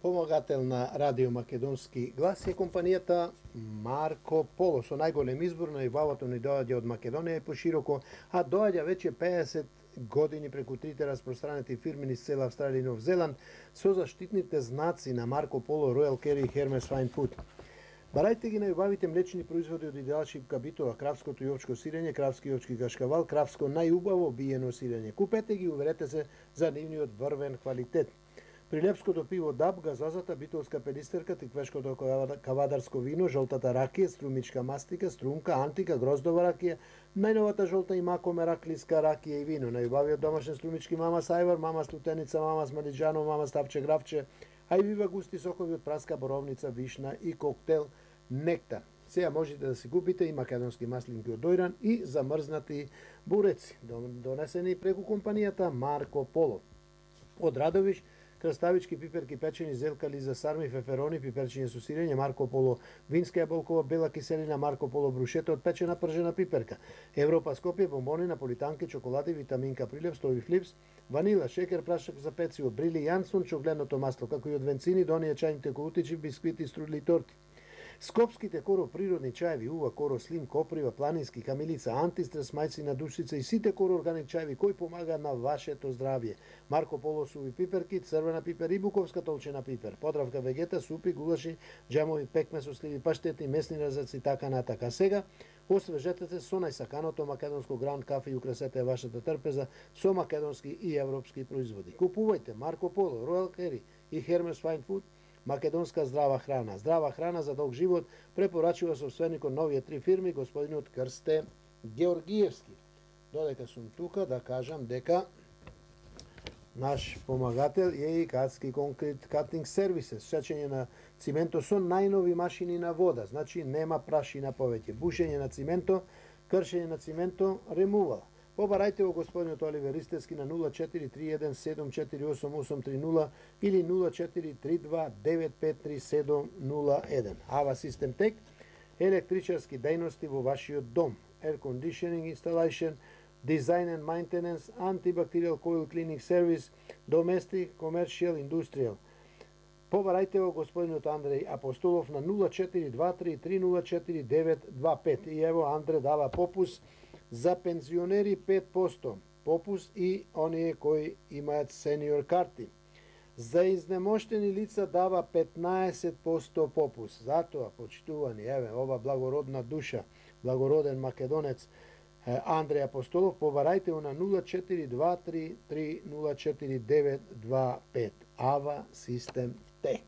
Помагател на Радио Македонски глас е компанијата Марко Поло. Со најголем избор на ибавото ни доаѓа од Македонија и пошироко, а доаѓа веќе 50 години преку трите распространети фирми низ цела Австралија и Нов Зеланд со заштитните знаци на Марко Поло, Royal Carry и Hermes Fine Food. Барајте ги најубавите млечни производи од идеал шипка битола, кравското и овчко сирење, кравски и овчки кашкавал, кравско најубаво биено сирење. Купете ги, уверете се за нивниот врвен квалитет. Прилепското пиво Даб, газозата битолска пелистерка, тиквешкото кавадарско вино, жолтата ракија, струмичка мастика, струмка, антика, гроздова ракија, најновата жолта и макоме раклиска ракија и вино, најубавиот домашен струмички мама Сајвар, мама Стутеница, мама Смалиџано, мама Ставче Гравче, а и вива густи сокови од праска, боровница, вишна и коктел нектар. Сега можете да си купите и македонски маслинки од дојран и замрзнати буреци, донесени преку компанијата Марко Поло. Од Радовиш, краставички, пиперки, печени, зелкали за сарми, феферони, пиперчиња со сирење, Марко Поло, винска јаболкова бела киселина, Марко Поло брушета од печена пржена пиперка, Европа Скопје, бомбони, наполитанки, чоколади, витаминка Прилеп, стови флипс, ванила, шекер, прашак за пecivo, брили Јансон, чогледното масло, како и од венцини, до оние чајните колутичи, бисквити, струдли и торти. Скопските коро природни чаеви, ува, коро слим, коприва, планински, камилица, антистрес, мајци на душица и сите коро органик чаеви кои помагаат на вашето здравје. Марко Поло суви пиперки, црвена пипер и буковска толчена пипер, подравка вегета, супи, гулаши, џамови, пекме со сливи, паштети, месни резаци и така натака. Сега освежете се со најсаканото македонско гранд кафе и украсете вашата трпеза со македонски и европски производи. Купувајте Марко Поло, Royal Carry и Hermes Fine Food, македонска здрава храна. Здрава храна за долг живот препорачува собственикот новите три фирми, господинот Крсте Георгиевски. Додека сум тука да кажам дека наш помагател е и Катски Concrete Cutting Services, сечење на цименто со најнови машини на вода, значи нема прашина повеќе. Бушење на цименто, кршење на цименто, ремувал. Побарајте го господинот Оливер Ристевски на 0431748830 или 0432953701. Ава Систем Тек, електричарски дејности во вашиот дом, air conditioning installation, design and maintenance, antibacterial coil cleaning service, domestic, commercial, industrial. Побарајте го господинот Андреј Апостолов на 0423049925. И ево Андре дава попус за пензионери 5% попус и оние кои имаат сениор карти. За изнемоштени лица дава 15% попус. Затоа, почитувани, еве, ова благородна душа, благороден македонец Андреј Апостолов, побарајте го на 0423304925. Ава Систем Тек.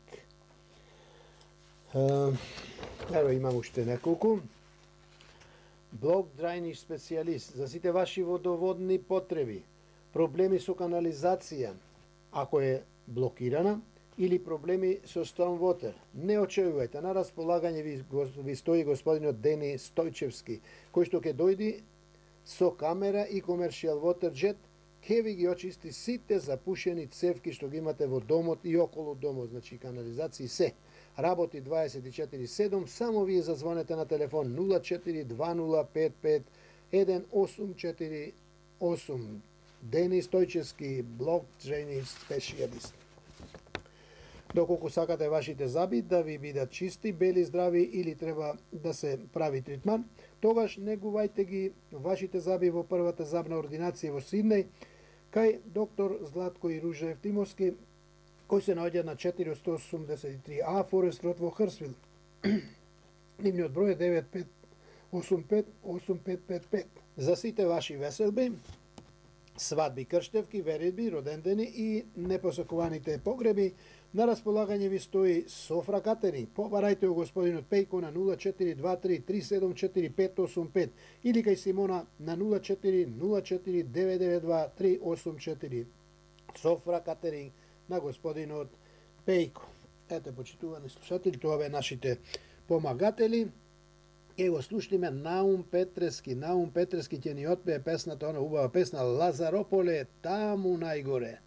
Еве имам уште неколку. Блок драјниш специјалист за сите ваши водоводни потреби, проблеми со канализација, ако е блокирана, или проблеми со stormwater. Не очекувајте, на располагање ви стои господинот Дени Стојчевски, кој што ќе дојди со камера и commercial water jet, ќе ви ги очисти сите запушени цевки што ги имате во домот и околу домот, значи канализации се. Работи 24/7, само вие зазвонете на телефон 0420551848. Дени Стојчевски, блок дренеж специјалист. Доколку сакате вашите заби да ви бидат чисти, бели, здрави или треба да се прави тритман, тогаш негувајте ги вашите заби во првата забна ординација во Сиднеј, кај доктор Златко и Ружа Евтимовски, кој се наоѓа на 483А Форест Род во Хрсвил. Нивниот број е 95858555. За сите ваши веселби, свадби, крштевки, веридби, родендени и непосакуваните погреби, на располагање ви стои Софра Катеринг. Побарајте го господинот Пејко на 0423745585 или кај Симона на 0404992384. Софра Катеринг на господинот Пејко. Ете, почитувани слушатели, тоа бе нашите помагатели. Ке го слушнеме Наум Петрески. Наум Петрески ќе ни отпее песната, она убава песна Лазарополе, таму најгоре.